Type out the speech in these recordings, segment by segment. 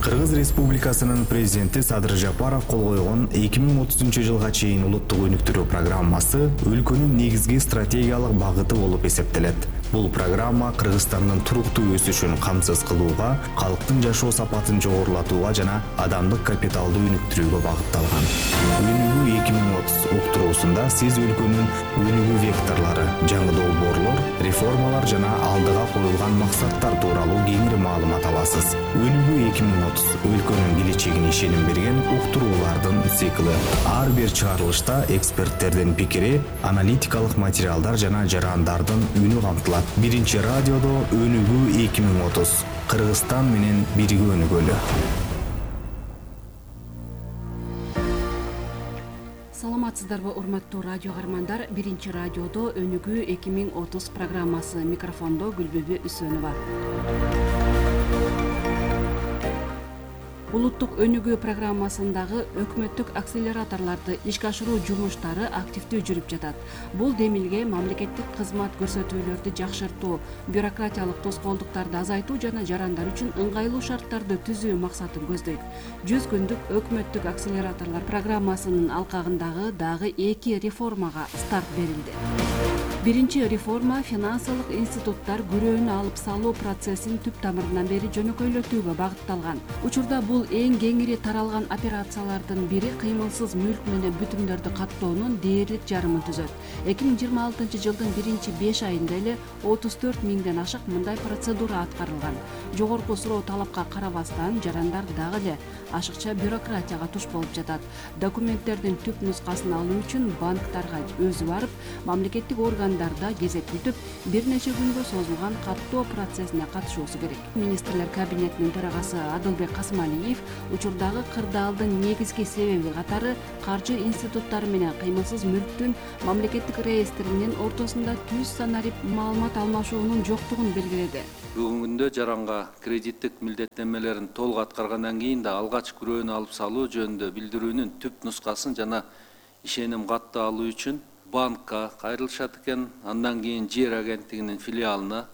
Кыргыз Республикасынын президенти Садыр Жапаров кол койгон 2030 жылга чейин улуттук өнүктүрүү программасы өлкөнүн негизги стратегиялык багыты болуп эсептелет. Бул программа Кыргызстандын туруктуу өсүшүн камсыз кылууга, калктын жашоо сапатын жогорулатууга жана адамдык капиталды өнүктүрүүгө багытталган. Өнүгүү 2030 уктуруусунда сиз өлкөнүн өнүгүү векторлору, жаңы долбоорлор, реформалар жана алдыга коюлган максаттар тууралуу кеңири маалымат аласыз. Өнүгүү 2030 өлкөнүн келечегине ишеним берген уктуруулардын циклы. Ар бир чыгарылышта эксперттердин пикири, аналитикалык материалдар жана жарандардын үнү камтылат. Биринчи радиодо Өнүгүү 2030. Кыргызстан менен бирге өнүгөлү. Саламатсыздарбы, урматтуу радио каармандар? Биринчи радиодо Өнүгүү 2030 программасы. Микрофондо Гүлбүбү Үсөнова. Улуттук өнүгүү программасындагы өкмөттүк акселераторлорду ишке ашыруу жумуштары активдүү жүрүп жатат. Бул демилге мамлекеттик кызмат көрсөтүүлөрдү жакшыртуу, бюрократиялык тоскоолдуктарды азайтуу жана жарандар үчүн ыңгайлуу шарттарды түзүү максатын көздөйт. 100 күндүк өкмөттүк акселераторлор программасынын алкагындагы дагы 2 реформага старт берилди. Биринчи реформа финансылык институттар күрөөнү алып салуу процессин түп тамырынан бери жөнөкөйлөтүүгө багытталган. Учурда бул эң кеңири таралган операциялардын бири кыймылсыз мүлк менен бүтүмдөрдү каттоонун дээрлик жарымын түзөт. 2026 жылдын 1-5 айында эле 34 миңден ашык мындай процедура аткарылган. Жогорку суроо талапка карабастан жарандар дагы эле ашыкча бюрократияга туш болуп жатат. Документтердин түп нускасын алуу үчүн банктарга өзү барып, мамлекеттик органдарда кезек күтүп, бир нече күнгө созулган каттоо процессине катышуусу керек. Министрлер кабинетинин төрагасы Адылбек Касмалиев учурдагы кырдаалдын негизги себеби катары каржы институттары менен кыймылсыз мүлктүн мамлекеттик реестринин ортосунда түз санарип маалымат алмашуунун жоктугун белгиледи. Бүгүнкү күндө жаранга кредиттик милдеттенмелерин толук аткаргандан кийин да алгач күрөөнү алып салуу жөнүндө билдирүүнүн түп нускасын жана ишеним катты алуу үчүн банкка кайрылышат экен, андан кийин жер агенттигинин филиалына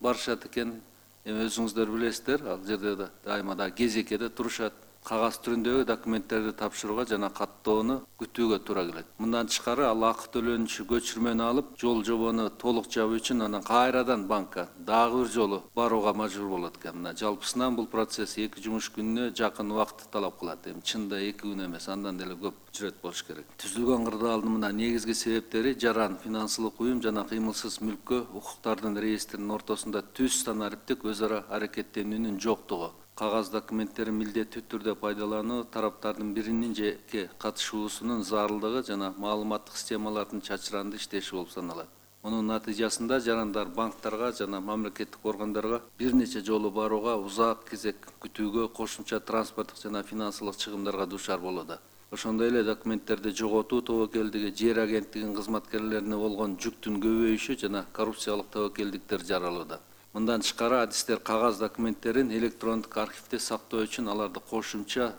барышат экен. Өзүңүздөр билесиздер, ал жерде дайыма да кезекеде турушат. Кагаз түрүндөгү документтерди тапшырууга жана каттоону күтүүгө туура келет. Мындан тышкары ал акы төлөнүшү көчүрмөнү алып, жол жобону толук жабуу үчүн анан кайрадан банкка дагы бир жолу барууга мажбур болот экен. Мына жалпысынан бул процесс 2 жумуш күнүнө жакын убакыт талап кылат. Эми чынында 2 күн эмес, андан деле көп жүрөт болуш керек. Түзүлгөн кырдаалдын мына негизги себептери жаран, финансылык уюм жана кыймылсыз мүлккө укуктардын реестринин ортосунда түз санариптик өз ара аракеттенүүнүн жоктугу. Кагаз документтерин милдеттүү түрдө пайдалануу, тараптардын биринин жеке катышуусунун зарылдыгы жана маалыматтык системалардын чачыранды иштеши болуп саналат. Мунун натыйжасында жарандар банктарга жана мамлекеттик органдарга бир нече жолу барууга, узак кезек күтүүгө, кошумча транспорттук жана финансылык чыгымдарга дуушар болууда. Ошондой эле документтерди жоготуу тобокелдиги, жер агенттигинин кызматкерлерине болгон жүктүн көбөйүшү жана коррупциялык тобокелдиктер жаралууда. Мындан тышкары адистер кагаз документтерин электрондук архивде сактоо үчүн аларды кошумча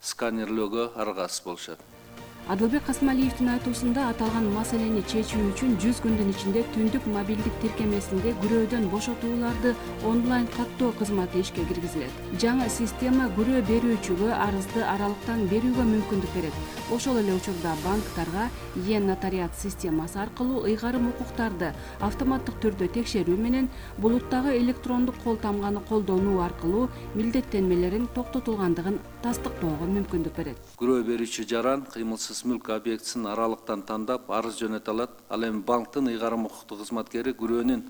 сканерлөөгө аргасыз болушат. Адылбек Касмалиевдин айтуусунда аталган маселени чечүү үчүн 100 күндүн ичинде түндүк мобилдик тиркемесинде күрөөдөн бошотууларды онлайн каттоо кызматы ишке киргизилет. Жаңы система күрөө берүүчүгө арызды аралыктан берүүгө мүмкүндүк берет. Ошол эле учурда банктарга нотариат системасы аркылуу ыйгарым укуктарды автоматтык түрдө текшерүү менен булуттагы электрондук кол тамганы колдонуу аркылуу милдеттенмелерин токтотулгандыгын тастыктоого мүмкүндүк берет. Күрөө берүүчү жаран кыймылсыз мүлк объектисин аралыктан тандап арыз жөнөтө алат. Ал эми банктын ыйгарым укуктук кызматкери күрөөнүн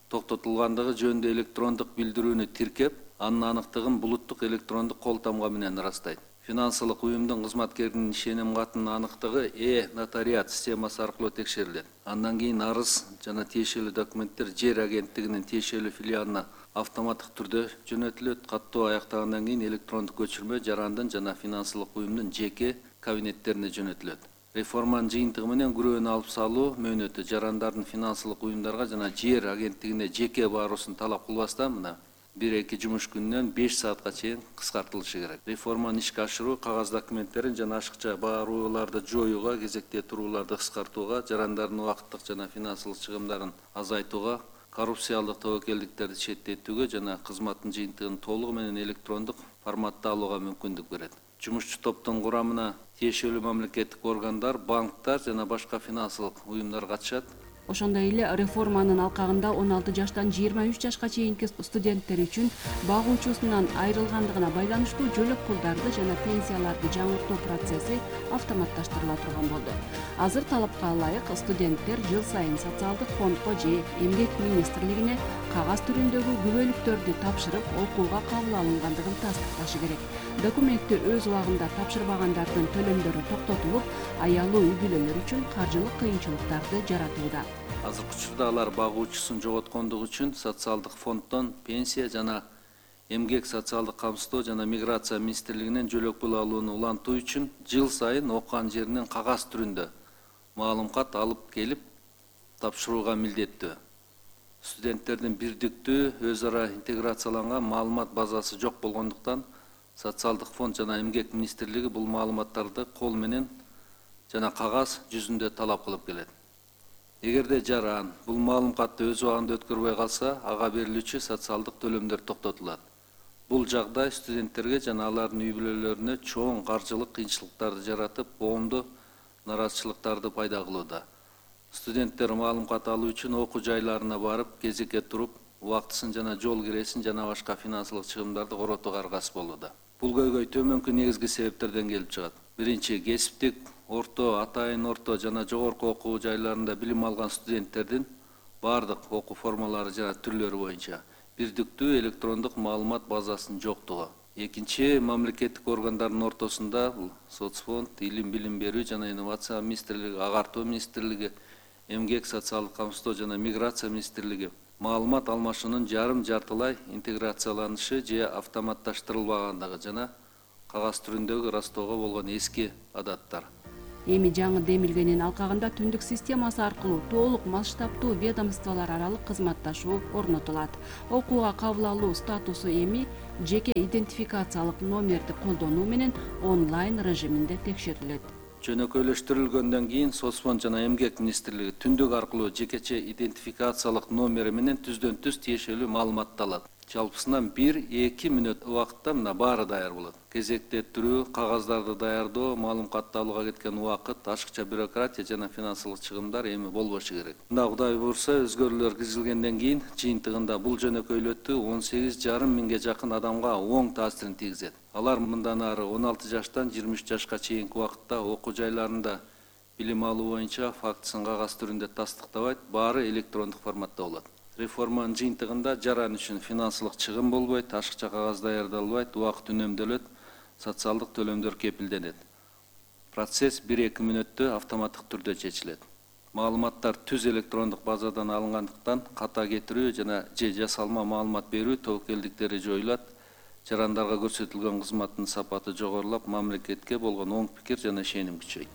токтотулгандыгы жөнүндө электрондук билдирүүнү тиркеп, анын аныктыгын булуттук электрондук кол тамга менен ырастайт. Финансылык уюмдун кызматкеринин ишеним катынын аныктыгы нотариат системасы аркылуу текшерилет. Андан кийин арыз жана тиешелүү документтер жер агенттигинин тиешелүү филиалына автоматтык түрдө жөнөтүлөт. Каттоо аяктагандан кийин электрондук көчүрмө жарандын жана финансылык уюмдун жеке кабинеттерине жөнөтүлөт. Реформанын жыйынтыгы менен күрөөнү алып салуу мөөнөтү жарандардын финансылык уюмдарга жана жер агенттигине жеке баруусун талап кылбастан мына 1-2 жумуш күнүнөн 5 саатка чейин кыскартылышы керек. Реформаны ишке ашыруу кагаз документтерин жана ашыкча барууларды жоюуга, кезекте турууларды кыскартууга, жарандардын убакыттык жана финансылык чыгымдарын азайтууга коррупциялык тобокелдиктерди четтетүүгө жана кызматтын жыйынтыгын толугу менен электрондук форматта алууга мүмкүндүк берет. Жумушчу топтун курамына тиешелүү мамлекеттик органдар, банктар жана башка финансылык уюмдар катышат. Ошондой эле реформанын алкагында 16 жаштан 23 жашка чейинки студенттер үчүн багуучусунан айрылгандыгына байланыштуу жөлөк пулдарды жана пенсияларды жаңыртуу процесси автоматташтырыла турган болду. Азыр талапка ылайык студенттер жыл сайын социалдык фондко же Эмгек министрлигине кагаз түрүндөгү күбөлүктөрдү тапшырып, окууга кабыл алынгандыгын тастыкташы керек. Документти өз убагында тапшырбагандардын төлөмдөрү токтотулуп, аялуу үй бүлөлөр үчүн каржылык кыйынчылыктарды жаратууда. Азыркы учурда алар багуучусун жоготкондугу үчүн социалдык фонддон пенсия жана эмгек социалдык камсыздоо жана миграция министрлигинен жөлөк пул алууну улантуу үчүн жыл сайын окуган жеринен кагаз түрүндө маалымат алып келип тапшырууга милдеттүү. Студенттердин бирдиктүү өз ара интеграцияланган маалымат базасы жок болгондуктан социалдык фонд жана эмгек министрлиги бул маалыматтарды кол менен жана кагаз жүзүндө талап кылып келет. Эгерде жаран бул маалыматты өз убагында өткөрбөй калса, ага берилүүчү социалдык төлөмдөр токтотулат. Бул жагдай студенттерге жана алардын үй бүлөлөрүнө чоң каржылык кыйынчылыктарды жаратып, коомдо нараазычылыктарды пайда кылууда. Студенттер маалымат алуу үчүн окуу жайларына барып, кезекке туруп, убактысын жана жол киресин жана башка финансылык чыгымдарды коротууга аргасыз болууда. Бул көйгөй төмөнкү негизги себептерден келип чыгат. Биринчи, кесиптик, орто, атайын орто жана жогорку окуу жайларында билим алган студенттердин бардык окуу формалары жана түрлөрү боюнча бирдиктүү электрондук маалымат базасынын жоктугу. Экинчи, мамлекеттик органдардын ортосунда соцфонд, билим берүү жана инновация министрлиги, агартуу министрлиги, эмгек социалдык камсыздоо жана миграция министрлиги маалымат алмашуунун жарым-жартылай интеграцияланышы же автоматташтырылбагандыгы жана кагаз түрүндөгү ырастоого болгон эски адаттар. Эми жаңы демилгенин алкагында түндүк системасы аркылуу толук масштабтуу ведомстволор аралык кызматташуу орнотулат. Окууга кабыл алуу статусу эми жеке идентификациялык номерди колдонуу менен онлайн режиминде текшерилет. Жөнөкөйлөштүрүлгөндөн кийин соцфонд жана эмгек министрлиги түндүк аркылуу жекече идентификациялык номери менен түздөн-түз тиешелүү маалыматты алат. Жалпысынан 1-2 мүнөт убакытта мына баары даяр болот. Кезекте туруу, кагаздарды даярдоо, маалыматты алууга кеткен убакыт, ашыкча бюрократия жана финансылык чыгымдар эми болбошу керек. Мында Кудай буйрса, өзгөрүүлөр киргизилгенден кийин жыйынтыгында бул жөнөкөйлөтүү 18,5 миңге жакын адамга оң таасирин тийгизет. Алар мындан ары 16 жаштан 23 жашка чейинки убакытта окуу жайларында билим алуу боюнча фактысын кагаз түрүндө тастыктабайт, баары электрондук форматта болот. Реформанын жыйынтыгында жаран үчүн финансылык чыгым болбойт, ашыкча кагаз даярдалбайт, убакыт үнөмдөлөт, социалдык төлөмдөр кепилденет. Процесс 1-2 мүнөттө автоматтык түрдө чечилет. Маалыматтар түз электрондук базадан алынгандыктан ката кетирүү жана же жасалма маалымат берүү тобокелдиктери жоюлат. Жарандарга көрсөтүлгөн кызматтын сапаты жогорулап, мамлекетке болгон оң пикир жана ишеним күчөйт.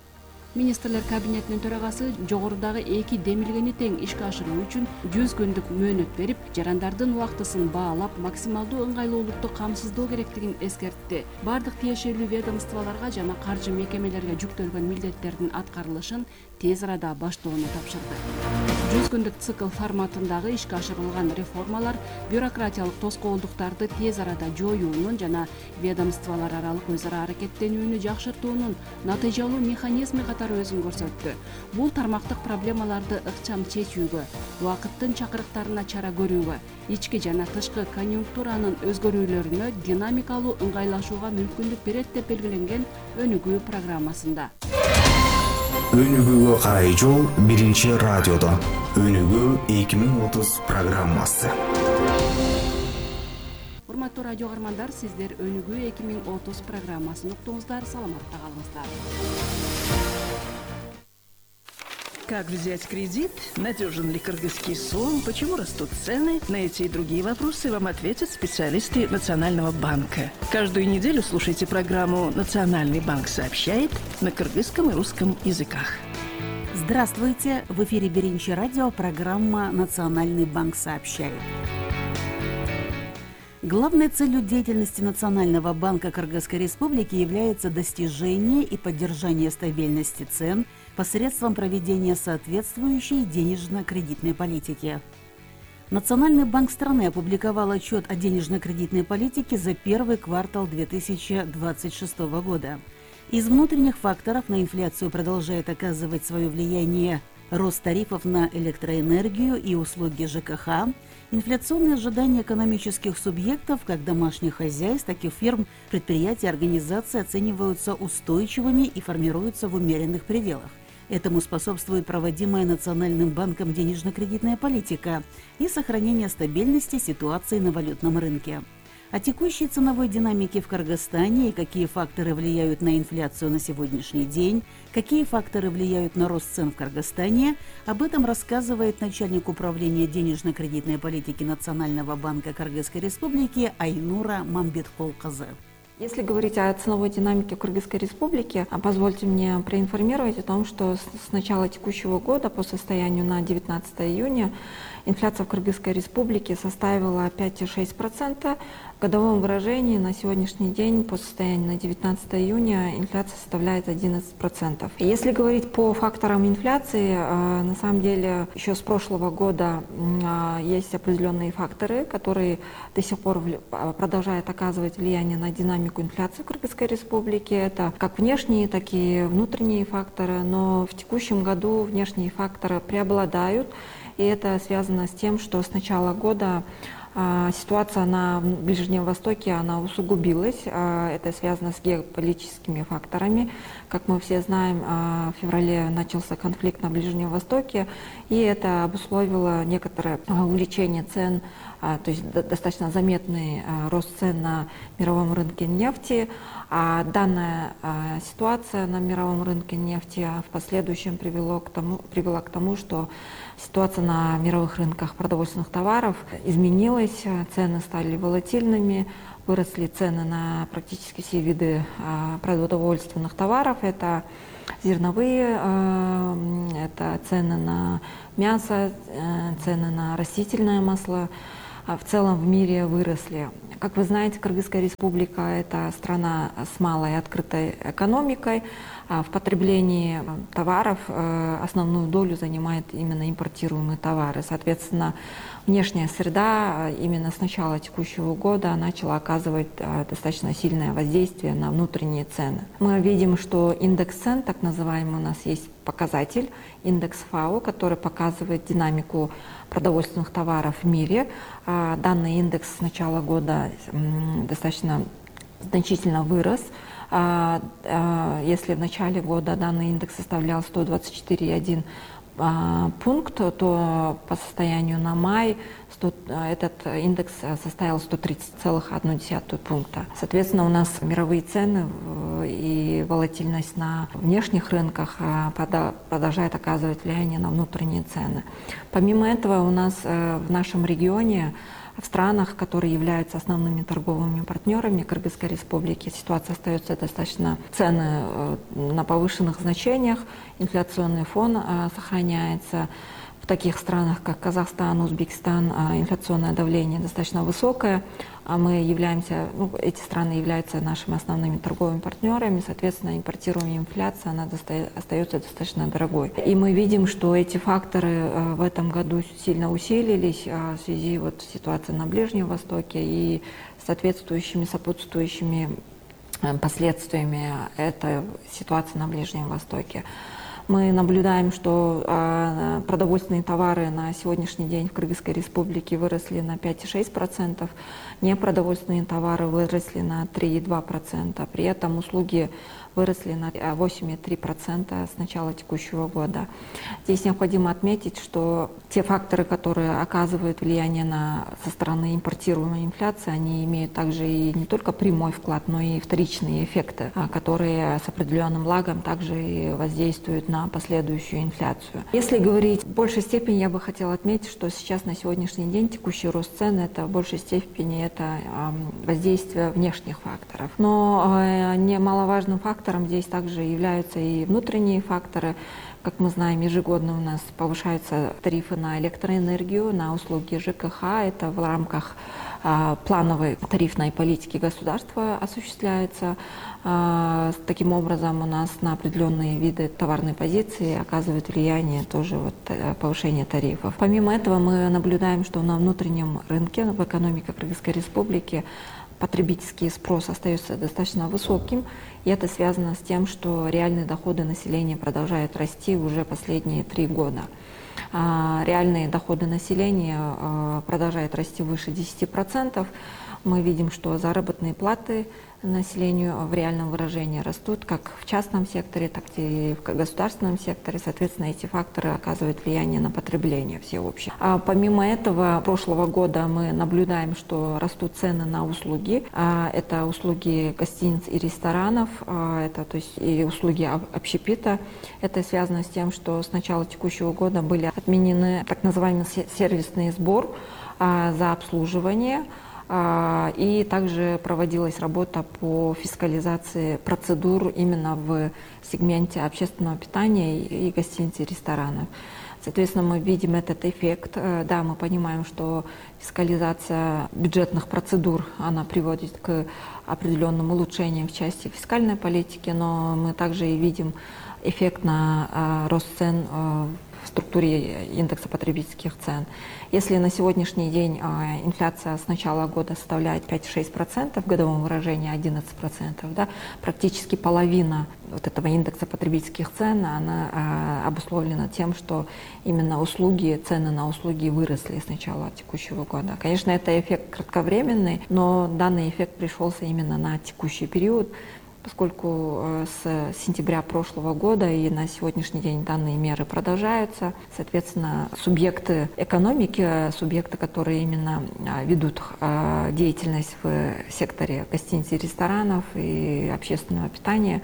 Министрлер кабинетинин төрагасы жогорудагы эки демилгени тең ишке ашыруу үчүн 100 күндүк мөөнөт берип, жарандардын убактысын баалап, максималдуу ыңгайлуулукту камсыздоо керектигин эскертти. Бардык тиешелүү ведомстволорго жана каржы мекемелерге жүктөлгөн милдеттердин аткарылышын тез арада баштоону тапшырды. 100 күндүк цикл форматындагы ишке ашырылган реформалар бюрократиялык тоскоолдуктарды тез арада жоюунун жана ведомстволор аралык өз ара аракеттенүүнү жакшыртуунун натыйжалуу механизми катары өзүн көрсөттү. Бул тармактык проблемаларды ыкчам чечүүгө, убакыттын чакырыктарына чара көрүүгө, ички жана тышкы конъюнктуранын өзгөрүүлөрүнө динамикалуу ыңгайлашууга мүмкүндүк берет деп белгиленген өнүгүү программасында. Өнүгүүгө карай жол биринчи радиодо. Өнүгүү 2030 программасы. Урматтуу радио каармандар, сиздер Өнүгүү 2030 программасын уктуңуздар, саламатта калыңыздар. Как взять кредит? Надежен ли кыргызский сом? Почему растут цены? На эти и другие вопросы вам ответят специалисты Национального банка. Каждую неделю слушайте программу «Национальный банк сообщает» на кыргызском и русском языках. Здравствуйте! В эфире Биринчи радио, программа «Национальный банк сообщает». Главной целью деятельности Национального банка Кыргызской Республики является достижение и поддержание стабильности цен посредством проведения соответствующей денежно-кредитной политики. Национальный банк страны опубликовал отчет о денежно-кредитной политике за первый квартал 2026 года. Из внутренних факторов на инфляцию продолжает оказывать свое влияние рост тарифов на электроэнергию и услуги ЖКХ, инфляционные ожидания экономических субъектов, как домашних хозяйств, так и фирм, предприятий, организаций оцениваются устойчивыми и формируются в умеренных пределах. Этому способствует проводимая Национальным банком денежно-кредитная политика и сохранение стабильности ситуации на валютном рынке. О текущей ценовой динамике в Кыргызстане и какие факторы влияют на инфляцию на сегодняшний день, какие факторы влияют на рост цен в Кыргызстане, об этом рассказывает начальник управления денежно-кредитной политики Национального банка Кыргызской Республики Айнура Мамбеткулкызы. Если говорить о ценовой динамике в Кыргызской Республике, позвольте мне проинформировать о том, что с начала текущего года по состоянию на 19 июня инфляция в Кыргызской Республике составила 5,6%. В годовом выражении на сегодняшний день по состоянию на 19 июня инфляция составляет 11%. Если говорить по факторам инфляции, на самом деле еще с прошлого года есть определенные факторы, которые до сих пор продолжают оказывать влияние на динамику инфляции в Кыргызской Республике. Это как внешние, так и внутренние факторы, но в текущем году внешние факторы преобладают, и это связано с тем, что с начала года ситуация на Ближнем Востоке, она усугубилась. Это связано с геополитическими факторами. Как мы все знаем, в феврале начался конфликт на Ближнем Востоке, и это обусловило некоторое увеличение цен, то есть достаточно заметный рост цен на мировом рынке нефти. А данная ситуация на мировом рынке нефти в последующем привела к тому, что ситуация на мировых рынках продовольственных товаров изменилась, цены стали волатильными, выросли цены на практически все виды продовольственных товаров. Это зерновые, это цены на мясо, цены на растительное масло. В целом в мире выросли. Как вы знаете, Кыргызская Республика – это страна с малой открытой экономикой. В потреблении товаров основную долю занимают именно импортируемые товары. Соответственно, внешняя среда именно с начала текущего года начала оказывать достаточно сильное воздействие на внутренние цены. Мы видим, что индекс цен, так называемый, у нас есть показатель, индекс ФАО, который показывает динамику продовольственных товаров в мире. Данный индекс с начала года достаточно значительно вырос. Если в начале года данный индекс составлял 124,1 пункт, то по состоянию на май этот индекс составил 130,1 пункта. Соответственно, у нас мировые цены и волатильность на внешних рынках продолжает оказывать влияние на внутренние цены. Помимо этого, у нас в нашем регионе, в странах, которые являются основными торговыми партнерами Кыргызской Республики, ситуация остается достаточно, цены на повышенных значениях, инфляционный фон сохраняется. В таких странах, как Казахстан, Узбекистан, инфляционное давление достаточно высокое, а мы являемся, эти страны являются нашими основными торговыми партнерами, соответственно, импортируемая инфляция, она остается достаточно дорогой. И мы видим, что эти факторы в этом году сильно усилились в связи с ситуацией на Ближнем Востоке и соответствующими, сопутствующими последствиями этой ситуации на Ближнем Востоке. Мы наблюдаем, что продовольственные товары на сегодняшний день в Кыргызской Республике выросли на 5,6%, непродовольственные товары выросли на 3,2%, при этом услуги выросли на 8,3% с начала текущего года. Здесь необходимо отметить, что те факторы, которые оказывают влияние со стороны импортируемой инфляции, они имеют также и не только прямой вклад, но и вторичные эффекты, которые с определенным лагом также и воздействуют на последующую инфляцию. Если говорить в большей степени, я бы хотела отметить, что сейчас на сегодняшний день текущий рост цен — это в большей степени это воздействие внешних факторов. Но немаловажным фактором здесь также являются и внутренние факторы, Как мы знаем, ежегодно у нас повышаются тарифы на электроэнергию, на услуги ЖКХ. Это в рамках плановой тарифной политики государства осуществляется. Таким образом, у нас на определенные виды товарной позиции оказывает влияние тоже повышение тарифов. Помимо этого, мы наблюдаем, что на внутреннем рынке, в экономике Кыргызской Республики, потребительский спрос остается достаточно высоким, и это связано с тем, что реальные доходы населения продолжают расти уже последние 3 года. Реальные доходы населения продолжают расти выше 10%. Мы видим, что заработные платы населению в реальном выражении растут как в частном секторе, так и в государственном секторе. Соответственно, эти факторы оказывают влияние на потребление всеобщее. Помимо этого, прошлого года мы наблюдаем, что растут цены на услуги. Это услуги гостиниц и ресторанов, это то есть и услуги общепита. Это связано с тем, что с начала текущего года были отменены так называемый сервисный сбор за обслуживание. И также проводилась работа по фискализации процедур именно в сегменте общественного питания и гостиниц и ресторанов. Соответственно, мы видим этот эффект. Да, мы понимаем, что фискализация бюджетных процедур, она приводит к определенным улучшениям в части фискальной политики, но мы также и видим эффект на рост цен в структуре индекса потребительских цен. Если на сегодняшний день инфляция с начала года составляет 5-6%, в годовом выражении 11%, да, практически половина вот этого индекса потребительских цен, она обусловлена тем, что именно услуги, цены на услуги выросли с начала текущего года. Конечно, это эффект кратковременный, но данный эффект пришелся именно на текущий период, поскольку с сентября прошлого года и на сегодняшний день данные меры продолжаются. Соответственно, субъекты экономики, субъекты, которые именно ведут деятельность в секторе гостиниц и ресторанов и общественного питания,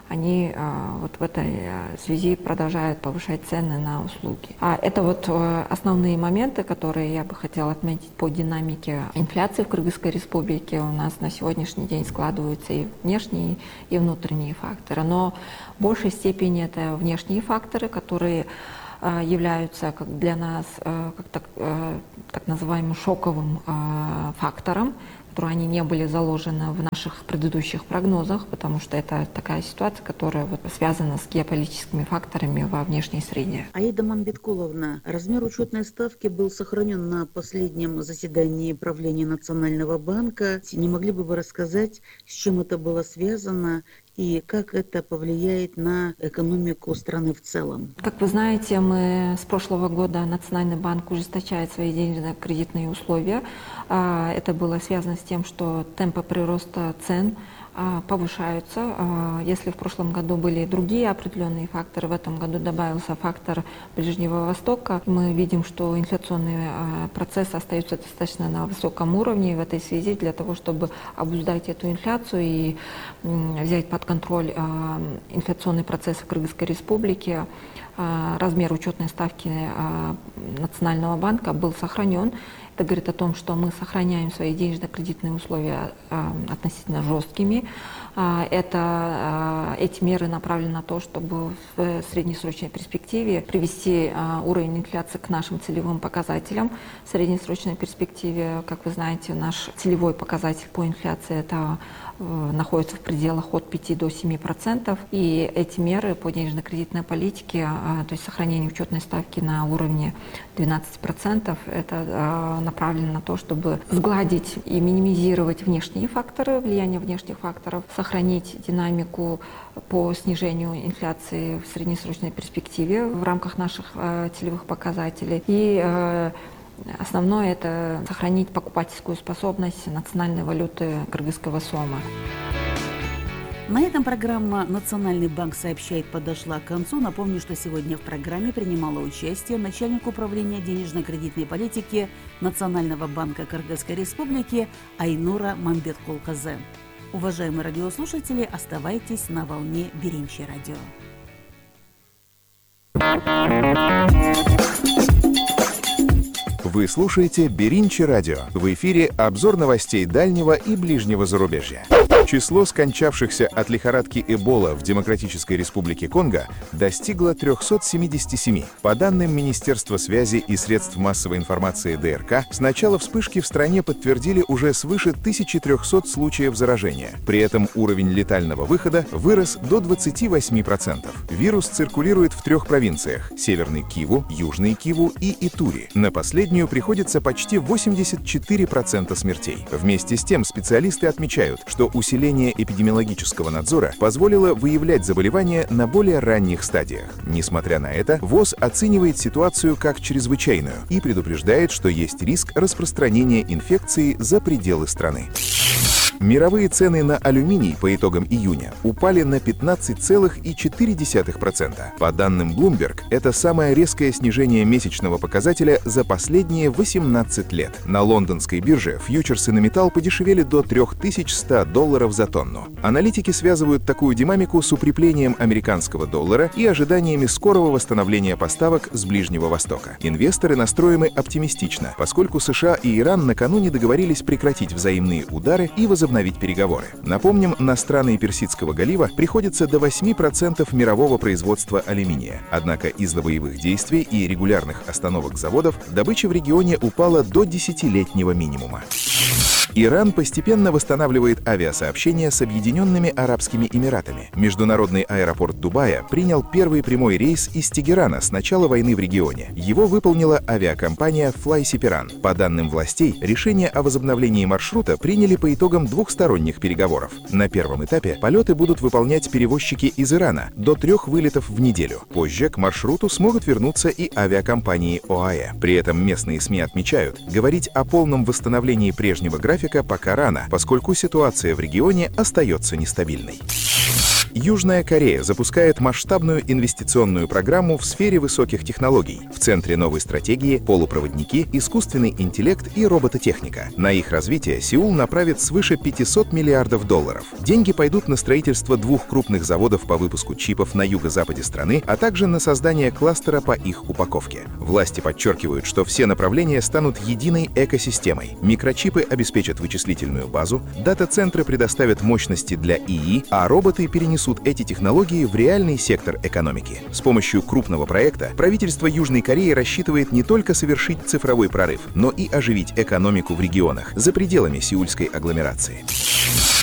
они вот в этой связи продолжают повышать цены на услуги. Это вот основные моменты, которые я бы хотела отметить по динамике инфляции в Кыргызской Республике. У нас на сегодняшний день складываются и внешние, и внутренние факторы. Но в большей степени это внешние факторы, которые являются как для нас как так называемым шоковым фактором, которые они не были заложены в наших предыдущих прогнозах, потому что это такая ситуация, которая связана с геополитическими факторами во внешней среде. Аида Мамбеткуловна, размер учетной ставки был сохранен на последнем заседании правления Национального банка. Не могли бы вы рассказать, с чем это было связано и как это повлияет на экономику страны в целом? Как вы знаете, мы с прошлого года Национальный банк ужесточает свои денежно-кредитные условия. Это было связано с тем, что темпы прироста цен повышаются. Если в прошлом году были другие определенные факторы, в этом году добавился фактор Ближнего Востока. Мы видим, что инфляционный процесс остается достаточно на высоком уровне. И в этой связи для того, чтобы обуздать эту инфляцию и взять под контроль инфляционный процесс в Кыргызской Республике, размер учетной ставки Национального банка был сохранен. Это говорит о том, что мы сохраняем свои денежно-кредитные условия относительно жесткими. Эти меры направлены на то, чтобы в среднесрочной перспективе привести уровень инфляции к нашим целевым показателям. В среднесрочной перспективе, как вы знаете, наш целевой показатель по инфляции это находится в пределах от 5 до 7%. И эти меры по денежно-кредитной политике, то есть сохранение учетной ставки на уровне 12%, это направлено на то, чтобы сгладить и минимизировать внешние факторы, влияние внешних факторов, сохранить динамику по снижению инфляции в среднесрочной перспективе в рамках наших целевых показателей. И основное – это сохранить покупательскую способность национальной валюты кыргызского сома. На этом программа «Национальный банк сообщает» подошла к концу. Напомню, что сегодня в программе принимала участие начальник управления денежно-кредитной политики Национального банка Кыргызской Республики Айнура Мамбеткулказы. Уважаемые радиослушатели, оставайтесь на волне Биринчи радио. Вы слушаете Биринчи радио. В эфире обзор новостей дальнего и ближнего зарубежья. Число скончавшихся от лихорадки Эбола в Демократической Республике Конго достигло 377. По данным Министерства связи и средств массовой информации ДРК, с начала вспышки в стране подтвердили уже свыше 1300 случаев заражения. При этом уровень летального выхода вырос до 28%. Вирус циркулирует в 3 провинциях – Северный Киву, Южный Киву и Итури. На последнюю приходится почти 84% смертей. Вместе с тем специалисты отмечают, что усиление эпидемиологического надзора позволило выявлять заболевания на более ранних стадиях. Несмотря на это, ВОЗ оценивает ситуацию как чрезвычайную и предупреждает, что есть риск распространения инфекции за пределы страны. Мировые цены на алюминий по итогам июня упали на 15,4%. По данным Bloomberg, это самое резкое снижение месячного показателя за последние 18 лет. На лондонской бирже фьючерсы на металл подешевели до $3100 за тонну. Аналитики связывают такую динамику с укреплением американского доллара и ожиданиями скорого восстановления поставок с Ближнего Востока. Инвесторы настроены оптимистично, поскольку США и Иран накануне договорились прекратить взаимные удары и возобновить переговоры. Напомним, на страны Персидского залива приходится до 8% мирового производства алюминия. Однако из-за боевых действий и регулярных остановок заводов добыча в регионе упала до 10-летнего минимума. Иран постепенно восстанавливает авиасообщение с Объединенными Арабскими Эмиратами. Международный аэропорт Дубая принял первый прямой рейс из Тегерана с начала войны в регионе. Его выполнила авиакомпания FlySiperan. По данным властей, решение о возобновлении маршрута приняли по итогам двухсторонних переговоров. На первом этапе полеты будут выполнять перевозчики из Ирана до 3 вылетов в неделю. Позже к маршруту смогут вернуться и авиакомпании ОАЭ. При этом местные СМИ отмечают, говорить о полном восстановлении прежнего графика пока рано, поскольку ситуация в регионе остается нестабильной. Южная Корея запускает масштабную инвестиционную программу в сфере высоких технологий. В центре новой стратегии – полупроводники, искусственный интеллект и робототехника. На их развитие Сеул направит свыше $500 миллиардов. Деньги пойдут на строительство 2 крупных заводов по выпуску чипов на юго-западе страны, а также на создание кластера по их упаковке. Власти подчеркивают, что все направления станут единой экосистемой. Микрочипы обеспечат вычислительную базу, дата-центры предоставят мощности для ИИ, а роботы перенесут эти технологии в реальный сектор экономики. С помощью крупного проекта правительство Южной Кореи рассчитывает не только совершить цифровой прорыв, но и оживить экономику в регионах за пределами сеульской агломерации.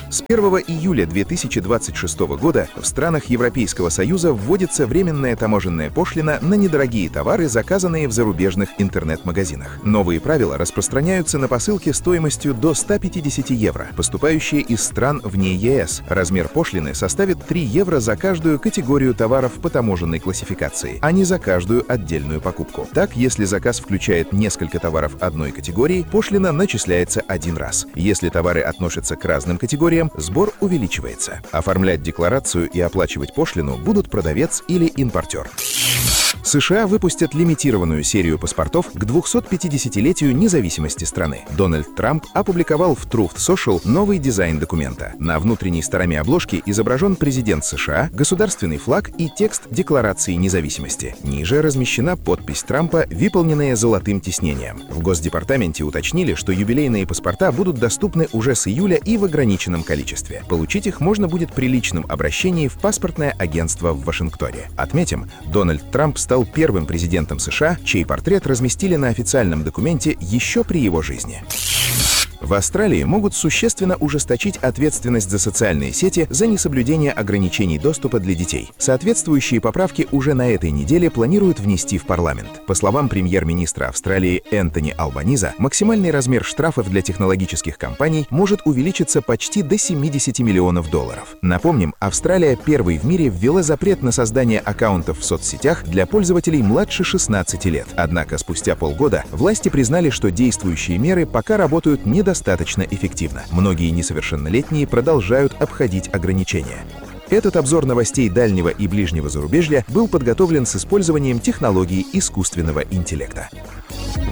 С 1 июля 2026 года в странах Европейского Союза вводится временная таможенная пошлина на недорогие товары, заказанные в зарубежных интернет-магазинах. Новые правила распространяются на посылки стоимостью до 150 евро, поступающие из стран вне ЕС. Размер пошлины составит 3 евро за каждую категорию товаров по таможенной классификации, а не за каждую отдельную покупку. Так, если заказ включает несколько товаров одной категории, пошлина начисляется 1 раз. Если товары относятся к разным категориям, сбор увеличивается. Оформлять декларацию и оплачивать пошлину будут продавец или импортер. США выпустят лимитированную серию паспортов к 250-летию независимости страны. Дональд Трамп опубликовал в Truth Social новый дизайн документа. На внутренней стороне обложки изображен президент США, государственный флаг и текст Декларации независимости. Ниже размещена подпись Трампа, выполненная золотым тиснением. В Госдепартаменте уточнили, что юбилейные паспорта будут доступны уже с июля и в ограниченном количестве. Получить их можно будет при личном обращении в паспортное агентство в Вашингтоне. Отметим, Дональд Трамп стал первым президентом США, чей портрет разместили на официальном документе еще при его жизни. В Австралии могут существенно ужесточить ответственность за социальные сети за несоблюдение ограничений доступа для детей. Соответствующие поправки уже на этой неделе планируют внести в парламент. По словам премьер-министра Австралии Энтони Албаниза, максимальный размер штрафов для технологических компаний может увеличиться почти до $70 миллионов. Напомним, Австралия первой в мире ввела запрет на создание аккаунтов в соцсетях для пользователей младше 16 лет. Однако спустя полгода власти признали, что действующие меры пока работают недостаточно эффективно. Многие несовершеннолетние продолжают обходить ограничения. Этот обзор новостей дальнего и ближнего зарубежья был подготовлен с использованием технологий искусственного интеллекта.